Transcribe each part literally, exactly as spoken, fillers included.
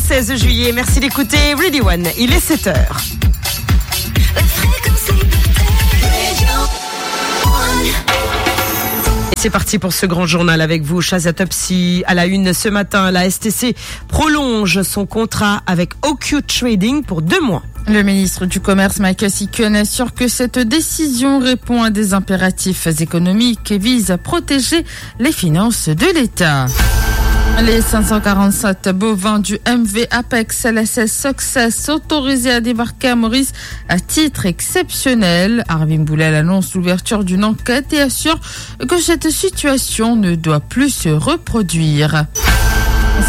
Seize juillet, merci d'écouter Ready One, il est sept heures. C'est parti pour ce grand journal avec vous, Shazia Topsy. À la une ce matin, la S T C prolonge son contrat avec O Q Trading pour deux mois. Le ministre du Commerce, Michael Sikuen, assure que cette décision répond à des impératifs économiques et vise à protéger les finances de l'État. Les cinq cent quarante-sept bovins du M V Apex L S S Success autorisés à débarquer à Maurice à titre exceptionnel. Arvin Boulel annonce l'ouverture d'une enquête et assure que cette situation ne doit plus se reproduire.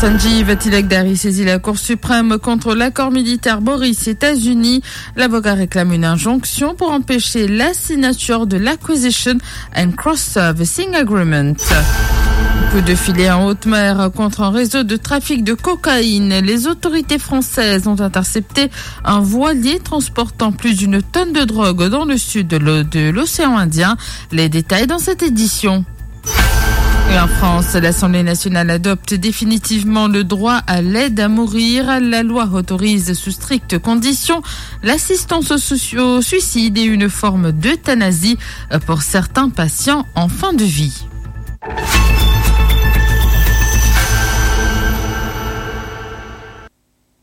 Sanjeev Tilakdari saisit la Cour suprême contre l'accord militaire Maurice-États-Unis. L'avocat réclame une injonction pour empêcher la signature de l'Acquisition and Cross-Servicing Agreement. Coup de filet en haute mer contre un réseau de trafic de cocaïne. Les autorités françaises ont intercepté un voilier transportant plus d'une tonne de drogue dans le sud de l'o-, de l'océan Indien. Les détails dans cette édition. Et en France, l'Assemblée nationale adopte définitivement le droit à l'aide à mourir. La loi autorise sous strictes conditions l'assistance au sou-, au suicide et une forme d'euthanasie pour certains patients en fin de vie.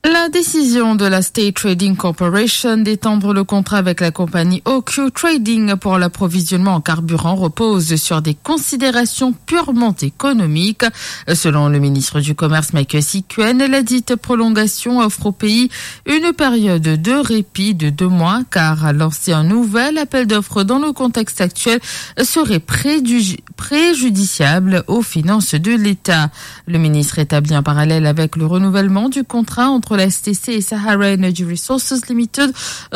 La décision de la State Trading Corporation d'étendre le contrat avec la compagnie O Q Trading pour l'approvisionnement en carburant repose sur des considérations purement économiques. Selon le ministre du Commerce, Michael Sikuen, la dite prolongation offre au pays une période de répit de deux mois, car lancer un nouvel appel d'offres dans le contexte actuel serait préjudici-, préjudiciable aux finances de l'État. Le ministre établit un parallèle avec le renouvellement du contrat entre la S T C et Sahara Energy Resources Limited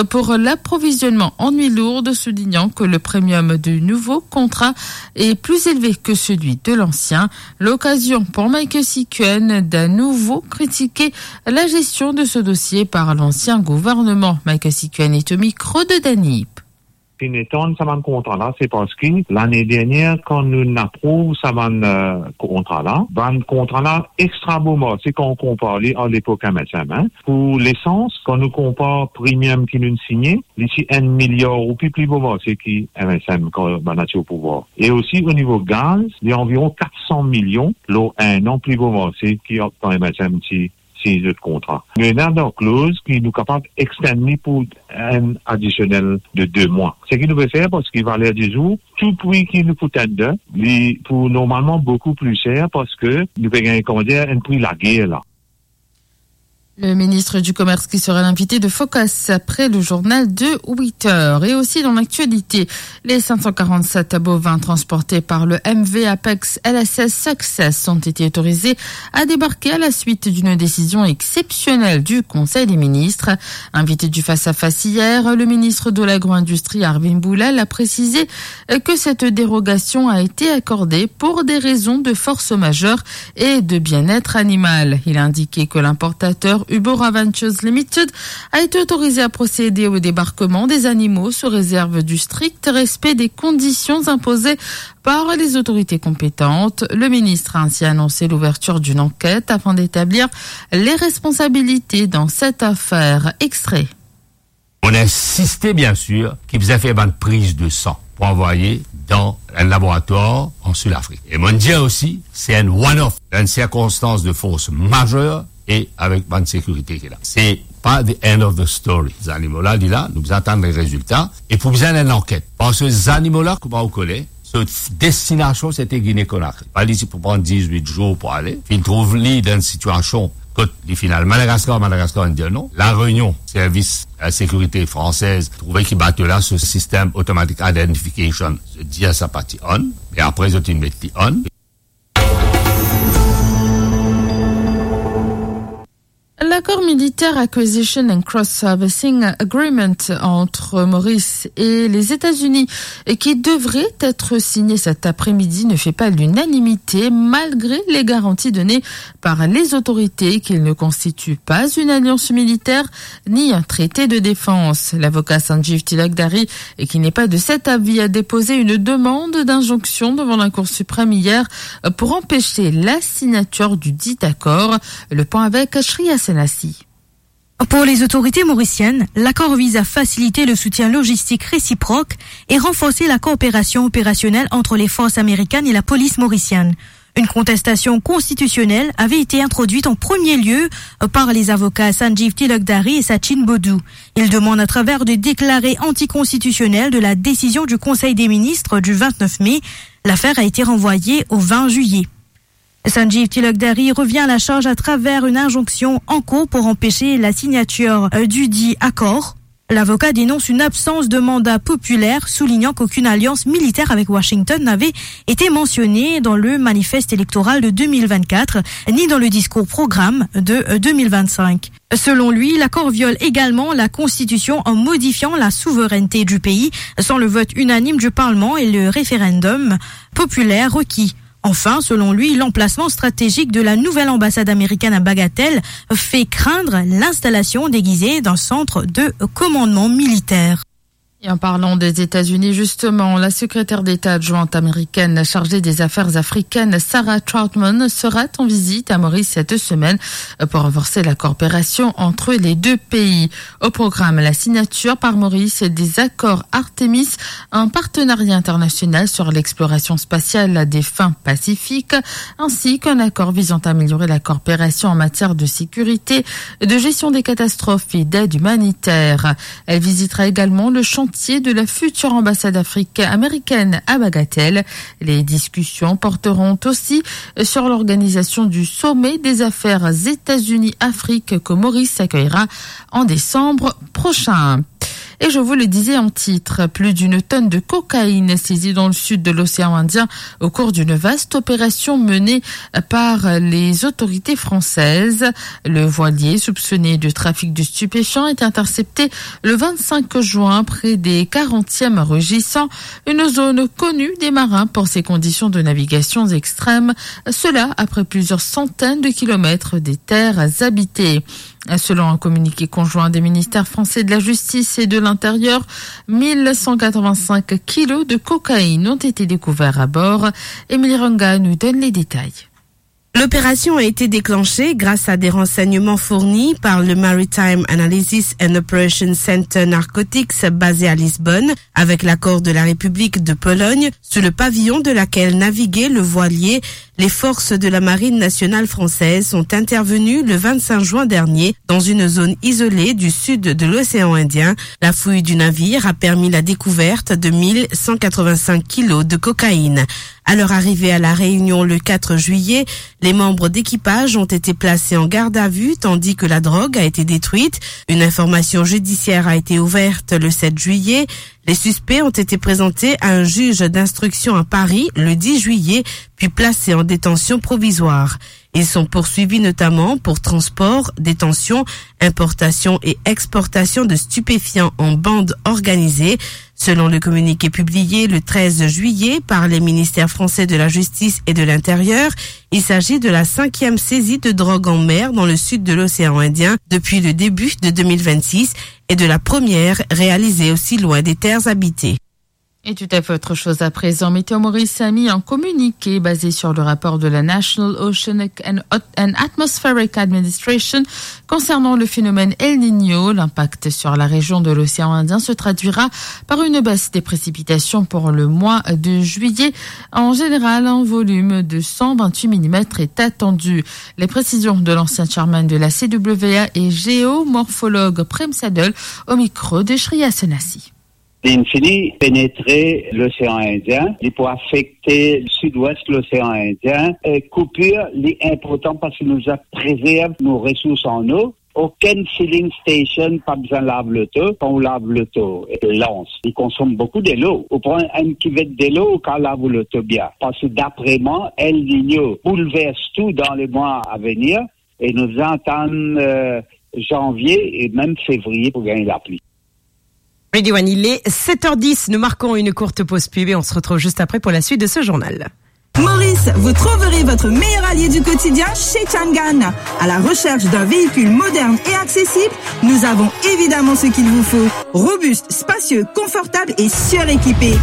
pour l'approvisionnement en huile lourde, soulignant que le premium du nouveau contrat est plus élevé que celui de l'ancien. L'occasion pour Michael Sikuen d'à nouveau critiquer la gestion de ce dossier par l'ancien gouvernement. Michael Sikuen est au micro de Dany Ip. Finn etann sa bann kontra la, se parski lane dernier, kan nou aprouv sa bann, euh, kontra la, bann kontra la extra bon marse, kan nou konpar li ar lepok M S M, hein. Pou lesans, kan nou konpar premium ki nou signe, li ti enn miliar roupi pli bon marse ki M S M kan bann la ti o pouvwar. E osi, o nivo gaz, li anviron kat san milion lor enn an pli bon marse ki kan M S M ti sign zot kontra. Nou ena dan kloz ki nou kapav extend li pou enn adisionel de de mwa. Seki nou pe fer, parski valer dizour, tou pri ki nou pou tender, li pou normalman boukou pli ser, parski nou pe gagn, kouma dir, enn pri lager la. Le ministre du Commerce qui sera l'invité de Focus après le journal de huit heures. Et aussi dans l'actualité, les cinq cent quarante-sept bovins transportés par le M V Apex L S S Success ont été autorisés à débarquer à la suite d'une décision exceptionnelle du Conseil des ministres. Invité du face-à-face hier, le ministre de l'Agro-Industrie, Arvin Boulel, a précisé que cette dérogation a été accordée pour des raisons de force majeure et de bien-être animal. Il a indiqué que l'importateur Ubora Ventures Limited a été autorisé à procéder au débarquement des animaux sous réserve du strict respect des conditions imposées par les autorités compétentes. Le ministre a ainsi annoncé l'ouverture d'une enquête afin d'établir les responsabilités dans cette affaire. Extrait. On a insisté, bien sûr, ki bizin fer bann priz de san pou anvoye dan enn laboratoire en Sud-Afrique. E mo'nn dir osi, se enn one-off, dan enn sirkonstans de force majeure e avek bann sekirite ki la. Se pa the end of the story. Zanimo la, li la, nou bizin atann le rezilta e pou bizin enn lanket. Parski zanimo la, kouma ou kone, so destinasion, se te Guinée-Conakry. Ba, li ti pou pran diz-wit zour pou ale. Finn trouv li dan enn sitiasion kot li finn al Madagaskar, Madagaskar inn dir non. La Réunion, servis, euh, sekirite fransez trouve ki bato la, so sistem automatic identification, zot dir sa pa ti on, me apre zot inn met li on. L'accord militaire Acquisition and Cross-Servicing Agreement entre Maurice et les États-Unis, et qui devrait être signé cet après-midi, ne fait pas l'unanimité, malgré les garanties données par les autorités qu'il ne constitue pas une alliance militaire ni un traité de défense. L'avocat Sanjeev Tilakdari, et qui n'est pas de cet avis, a déposé une demande d'injonction devant la Cour suprême hier pour empêcher la signature du dit accord. Le point avec Shreya Senath. Pour les autorités mauriciennes, l'accord vise à faciliter le soutien logistique réciproque et renforcer la coopération opérationnelle entre les forces américaines et la police mauricienne. Une contestation constitutionnelle avait été introduite en premier lieu, euh, par les avocats Sanjeev Tilakdari et Sachin Bodoo. Ils demandent à travers de déclarés anticonstitutionnels de la décision du Conseil des ministres du vingt-neuf mai. L'affaire a été renvoyée au vingt juillet. Sanjeev Tilakdari revient à la charge à travers une injonction en cours pour empêcher la signature, euh, dudit accord. L'avocat dénonce une absence de mandat populaire, soulignant qu'aucune alliance militaire avec Washington n'avait été mentionnée dans le manifeste électoral de deux mille vingt-quatre, ni dans le discours programme de, euh, deux mille vingt-cinq. Selon lui, l'accord viole également la Constitution en modifiant la souveraineté du pays sans le vote unanime du Parlement et le référendum populaire requis. Enfin, selon lui, l'emplacement stratégique de la nouvelle ambassade américaine à Bagatelle fait craindre l'installation déguisée d'un centre de commandement militaire. Et en parlant des États-Unis, justement, la secrétaire d'État adjointe américaine chargée des affaires africaines, Sarah Trautman, sera en visite à Maurice cette semaine pour renforcer la coopération entre les deux pays. Au programme, la signature par Maurice des accords Artemis, un partenariat international sur l'exploration spatiale à des fins pacifiques, ainsi qu'un accord visant à améliorer la coopération en matière de sécurité, de gestion des catastrophes et d'aide humanitaire. Elle visitera également le chantier de la future ambassade africaine américaine à Bagatelle. Les discussions porteront aussi sur l'organisation du sommet des affaires États-Unis-Afrique que Maurice accueillera en décembre prochain. Et je vous le disais en titre, plus d'une tonne de cocaïne saisie dans le sud de l'océan Indien au cours d'une vaste opération menée par les autorités françaises. Le voilier, soupçonné de trafic de stupéfiants, a été intercepté le vingt-cinq juin près des quarantième régissant, une zone connue des marins pour ses conditions de navigation extrêmes, cela après plusieurs centaines de kilomètres des terres habitées. Selon un communiqué conjoint des ministères français de la Justice et de l'Intérieur, mille cent quatre-vingt-cinq kilos de cocaïne ont été découverts à bord. Émilie Ranga nous donne les détails. L'opération a été déclenchée grâce à des renseignements fournis par le Maritime Analysis and Operations Center Narcotics, basé à Lisbonne, avec l'accord de la République de Pologne, sous le pavillon de laquelle naviguait le voilier. Les forces de la Marine nationale française sont intervenues le vingt-cinq juin dernier dans une zone isolée du sud de l'océan Indien. La fouille du navire a permis la découverte de mille cent quatre-vingt-cinq kilos de cocaïne. À leur arrivée à La Réunion le quatre juillet, les membres d'équipage ont été placés en garde à vue tandis que la drogue a été détruite. Une information judiciaire a été ouverte le sept juillet. Les suspects ont été présentés à un juge d'instruction à Paris le dix juillet, puis placés en détention provisoire. Ils sont poursuivis notamment pour transport, détention, importation et exportation de stupéfiants en bande organisée. Selon le communiqué publié le treize juillet par les ministères français de la Justice et de l'Intérieur, il s'agit de la cinquième saisie de drogue en mer dans le sud de l'océan Indien depuis le début de deux mille vingt-six et de la première réalisée aussi loin des terres habitées. Et tout à fait autre chose à présent. Météo Maurice a mis un communiqué basé sur le rapport de la National Oceanic and, and Atmospheric Administration concernant le phénomène El Niño. L'impact sur la région de l'océan Indien se traduira par une baisse des précipitations pour le mois de juillet. En général, un volume de cent vingt-huit millimètres est attendu. Les précisions de l'ancien chairman de la C W A et géomorphologue Prem Saddle au micro de Shreya Sonasi. Linn fini penetre losean Indien, li pou afekte sidwes losean Indien. E koupir li inportan parski nou dwa prezerv nou resours an lo. Okenn filling station pa bizin lav loto. Kan ou lav loto, lans, li konsom boukou delo. Ou pran enn kivet delo, ou kav lav ou loto bien. Parski dapre mwa, El Niño boulvers tou dan lemwa avenir e nou bizin atann, euh, zanvie e mem fevriye pou gagn lapli. Radio One, il est sept heures dix. Nous marquons une courte pause pub et on se retrouve juste après pour la suite de ce journal. Maurice, vous trouverez votre meilleur allié du quotidien chez Changan. À la recherche d'un véhicule moderne et accessible, nous avons évidemment ce qu'il vous faut. Robuste, spacieux, confortable et suréquipé.